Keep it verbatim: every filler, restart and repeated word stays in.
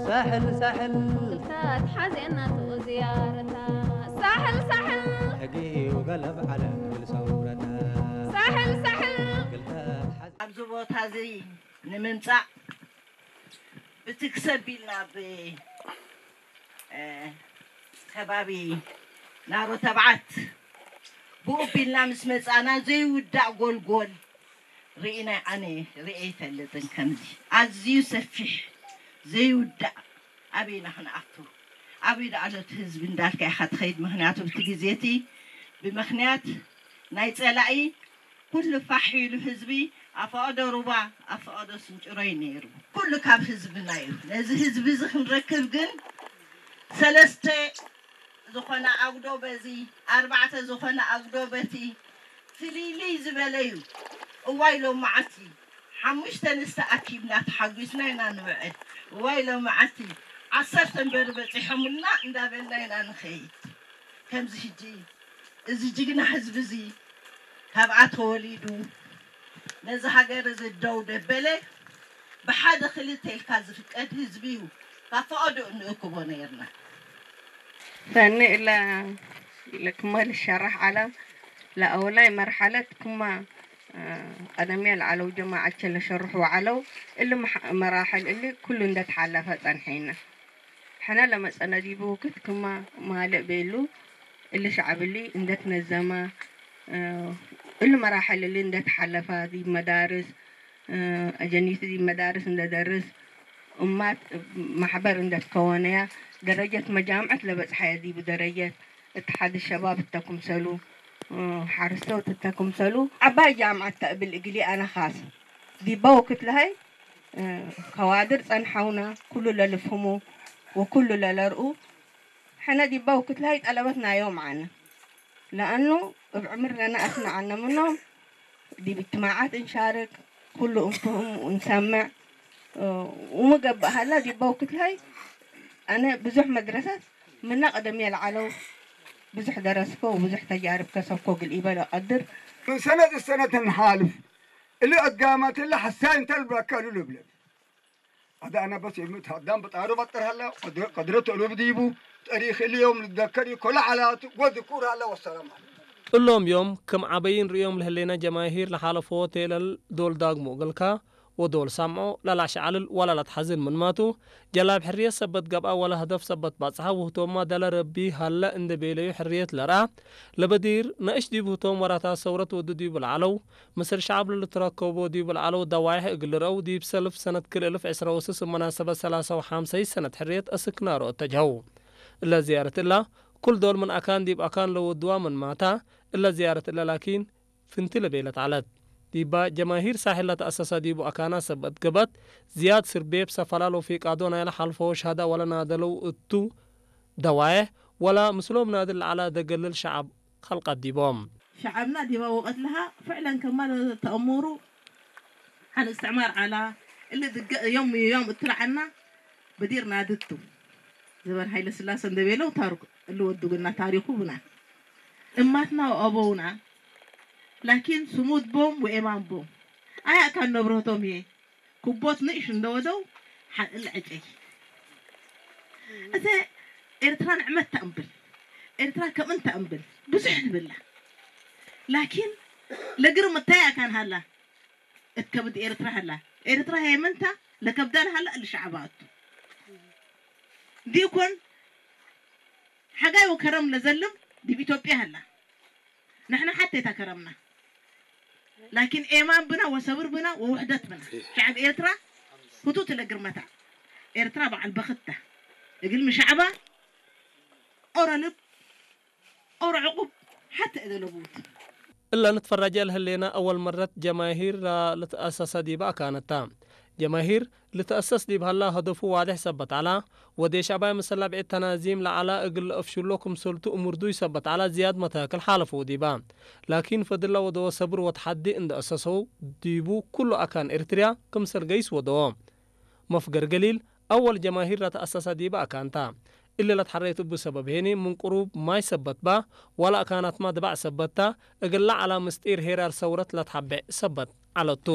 ሳሕል ሳሕል እግልታት ሓዜናቱ ዝያረታ። ሳሕል ሳሕል ሕጊ ወገለብ ዐለ እግል ሰውረታ። ሳሕል ሳሕል እግልታት ሓዜ- ኣብዚ ቦታ እዚ ንምምጻእ ብትክሰብ ኢልና ብ እ፣ ከባቢ ናሮ ተብዓት ብኡ ቢልና ምስ መጻና ዘይውዳእ ጎልጎል ርኢና፣ ኣነ ርኤ ኣይፈልጥን። ከምዚ ኣዝዩ ሰፊሕ ዘይውዳእ ኣበይና ክንኣቱ? ኣበይ ደኣሎ እቲ ህዝቢ እንዳልካ ኢኻ ትኸይድ። ምኽንያቱ ብቲ ግዜ እቲ ብምኽንያት ናይ ጸላኢ ኩሉ ፋሕ ኢሉ ህዝቢ ኣፈቐዶ ሩባ ኣፈቐዶ ስንጭሮይ ነይሩ። ኩሉ ካብ ህዝብና እዩ። ነዚ ህዝቢ እዚ ክንረክብ ግን ሰለስተ ዝኾነ ኣጉዶ በዚ፣ ኣርባዕተ ዝኾነ ኣጉዶ በቲ ፍልይልይ ዝበለ እዩ። እዋይ ሎመዓልቲ ሓሙሽተ ንስተ ኣኪብና ተሓጒስና ኢና ንውዕል። እዋይ ሎመዓልቲ ዓሰርተ እምበር በጺሖምልና እንዳበልና ኢና ንኸይድ። ከምዚ ሕጂ እዚ ጅግና ህዝቢ እዚ ካብኣ ተወሊዱ ነዚ ሃገር እዚ ደው ደበለ፣ ብሓደ ክልተ ኢልካ ዝፍቀድ ህዝቢ እዩ። ካብ ፈቐዶ እንእክቦ ነይርና። ሰኒ እለ ለክመ ልሸራሕ ዐለ፣ ለአውላይ መርሐለት ክመ፣ እ፣ ቀደምየ ለዐለው ጀማዐቼ ለሸርሑ ዐለው። እሊ መሕ-፣ መራሕል እሊ ኩሉ እንዴ ተሓለፈ ጸንሐይነ። ሕነ ለመጸነ ዲቡ ውክት ክመ ማልእ ቤሉ፣ እሊ ሸዐብ እሊ እንዴ ትነዘመ፣ እ፣ እሊ መራሕል እሊ እንዴ ተሓለፈ፣ ዲብ መዳርስ፣ እ፣ አጀኒቱ ዲብ መዳርስ እንዴ ደርስ፣ እማት ማሕበር እንዴ ትከወነያ፣ ደረጀት መጃምዐት ለበጽሐየ ዲቡ ደረጀት እትሓድ ሸባብ እተ ክምሰሉ፣ እ፣ ሐርሰውት እተ ክምሰሉ፣ ዐባይ ጃምዐት ተእብል እግሊ አነ ኻስ ዲበ ውክት ለሀይ፣ እ፣ ከዋድር ጸንሐውነ፣ ኩሉ ለልፍህሙ ወኩሉ ለለርኡ። ሕነ ዲበ ውክት ለሀይ ጠለበት ናዮም ዐነ። ለአኑ እብ ዕምር ለነአስነ ዐልነ ምኖም፣ ዲብ እጅትማዓት እንሻርክ፣ ኩሉ እንፍህም ወእንሰምዕ፣ እ፣ ወሚ ገብእ ሀላ፣ ዲበ ውክት ለሀይ አነ ብዙሕ መድረሰት ምነ ቀደምየ ለዐለው ብዙሕ ደረስኮ ወብዙሕ ተጃርብ ከሰብኮ እግል ኢበ ለቀድር። ምን ሰነት እሰነት እንሓልፍ፣ እሊ አጋማት እለ ሐሳይ እንተ ልብለከ እሉ ልብለ። አዳነ በስ የምት ሀዳም በጣሩ በጥር ሀለ፣ ቀድረ-፣ ቀድረት እሉብ ዲቡ፣ ጠሪክ እሊ ዮም ልትዘከር እዩ፣ ኮለ ሐላት ወድኩር ሀለ። ወሰላም ዐለይኩም። እሎም ዮም ክም ዐበይ እንርእዮም ለህሌነ ጀማሂር ለሓለፎ ቴለል ዶል ዳግሞ እግልካ ወዶል ሳምዖ ለለአሸዐልል ወለለአትሐዝን ምንማቱ፣ ጀላብ ሕርየት ሰበት ገብአ ወለ ህደፍ ሰበት በጽሐ ውህቶምመ ደለ ረቢ ሀለ እንዴ ቤለዩ ሕርየት ለርአ ለበዲር ነእሽ ዲብ ህቶም ወራታት ሰውረት ወዱ ዲቡ ለዐለው፣ ምስል ሸዐብ ለልትረከቦ ዲብ ለዐለው ደዋይሕ እግል ልርአው፣ ዲብ ሰልፍ ሰነት ክልኤ እልፍ ዕስራ ወስስ እብ መናሰበት ሰላሳ ወሐምሰይት ሰነት ሕርየት አስክ ናሮ እተጅሀው። እለ ዝያረት እላ፣ ኩል ዶል ምን አካን ዲብ አካን ለወድዋ ምንማታ፣ እለ ዝያረት እለ ላኪን ፍንቲ ለቤለት ዐለት። ዲባ ጀማሂር ሳሕል ለተአሰሰ ዲቡ አካናት ሰበት ገብአት፣ ዝያድ ስርቤብ፣ ሰፈላል ወፊቃዶ ናይለ ሐልፈዎ ሸህዳ ወለናደለው እቱ ደዋዬሕ፣ ወለ ምስሎም ናድል ለዐለ ደገልል ሸዐብ ከልቀት ዲቦም። ሸዐብና ዲበ ወቀት ለሀ ፍዕለን ከመ ለተአሙሩ ሐን እስትዕማር ዐላ፣ እሊ ድገ ዮም ዮም እትለዐና በዲር ናድቱ። ዘበን ሀይለ ስላሰ እንዴ ቤለው ታርኩ እሊ ወዱ ግና ታሪኩ ብና። እማትና ወአበውና ላኪን ስሙድ ቦም ወኤማን ቦም። አይ አካን ነብረቶም ህዬ ክቦት ንእሽ እንደ ወደው ሐ-፣ እለ ዕጨይ። እተ ኤርትራ ንዕመት ተአምብል፣ ኤርትራ ከም እንተ አምብል ብዙሕ ትብላ። ላኪን ለግርም እታይ አካን ሀላ፣ እት ከብድ ኤርትራ ሀላ። ኤርትራ ሄመንታ ለከብዳ ለሀላ እሊ ሸዐባ እቱ። ዲኮን ሐጋይ ወከረም ለዘልም ዲብ ኢትዮጵያ ሀላ። ንሕነ ሐቴ ተ ከረምና። ላኪን ኤማን ብና ወሰብር ብና ወውሕደት ብና። ሸዐብ ኤርትራ ህቱት ለግርመታ። ኤርትራ በዐል በክት ተ። እግልሚ ሸዐባ ኦሮ ልብ፣ ኦሮ ዕቁብ ሐቴ እደ ለቡት። እለ ንትፈረጀ ለህሌነ አወል መረት ጀማሂር ለልትአሰሰ ዲበ አካነት ተ። ጀማሂር ልትአሰስ ዲብ ሀላ፣ ሀደፉ ዋዴሕ ሰበት ዐላ፣ ወዴሽ አባይ ምስል ለብዕድ ተናዚም ለዐላ እግል ለአፍሽሎ ክምሰልቱ እሙር ዱይ ሰበት ዐላ፣ ዝያድ መታክል ሓለፈው ዲባ። ላኪን፣ ፈድል ለወደወ ሰብር ወተሐዲ እንዴ አሰሰው ዲቡ፣ ኩሉ አካን ኤርትርያ ክምሰል ገይስ ወደወ። መፍገር ገሊል፣ አወል ጀማሂር ለተአሰሰ ዲበ አካን ተ። እሊ ለትሐሬት እቡ ሰበብ ሄኒ፣ ምን ቅሩብ ማይ ሰበት በ፣ ወለ አካናትመ ድባዕ ሰበት ተ፣ እግል ለዐላ ምስጢር ሄራር ሰውረት ለትሐቤዕ ሰበት ዐለቱ።